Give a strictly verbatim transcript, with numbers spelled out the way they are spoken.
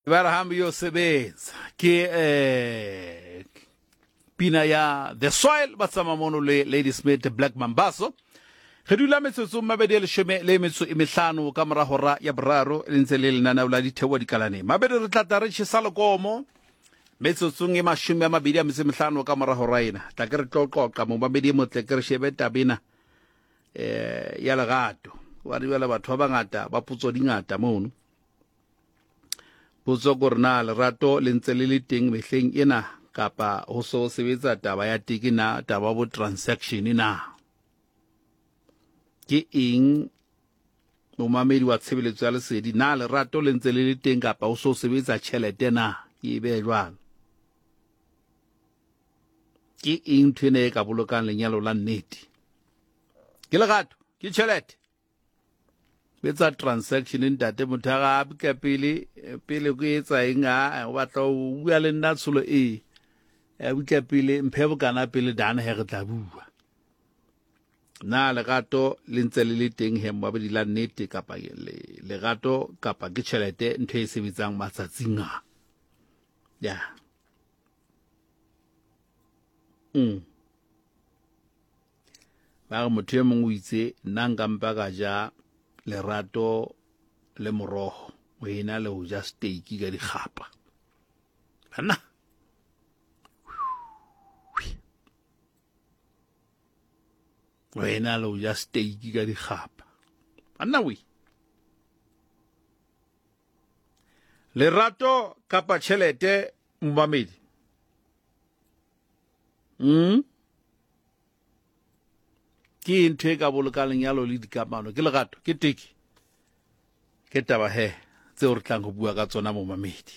Ba re hambe yo sebetsa ke eh pina ya The Soil ba tsamaya mono le Lady Smith Black Mambazo. Re dula metsotsong mabedi a leshome le metso e mehlano ka mora hora ya boraro, le ntse le lenaneo la Ditheo Dikalaneng. Mabedi re tla tla re tjhesa lekomo metsotsong e mashome a mabedi a metso e mehlano ka mora hora ena. Tla ke re tlo qoqa momamedi e motle, ke re shebe taba ena eh ya lerato. Wa re jwale batho ba bangata ba potso di ngata mono. Potso ke hore na lerato le ntse le le teng mehleng ena kapa ho so sebetsa taba ya teke na, taba bo transaction na. Ke eng momamedi wa tshebeletso ya lesedi, na lerato le ntse le le teng kapa ho so sebetsa tjhelete na? Ke e behe jwalo. Ke eng ntho ena e ka bolokang lenyalo la nnete? Ke lerato, ke tjhelete. Betsa transaction ntate, motho a ga ka pele pele ke etsa eng, a o batla ho bua le nna tsholo e a butla pele mphe bokana pele dana he re tla bua. Na lerato le ntse le le teng he mmabedi la nnete kapa lerato kapa ke tjhelete ntho e sebetsang matsatsing a? Ya. Mm. Ba re motho e mong o itse nna nka mpa ka ja lerato le moroho o ena le ho ja steak ka dikgapa. Banna. O ena le ho ja steak ka dikgapa. Banna we. Lerato kapa tjhelete momamedi. Mm. Ke ntho e ka bolokang lenyalo le dikamano, ke lerato, ke teke. Ke taba he tseo re tlang ho bua ka tsona momamedi.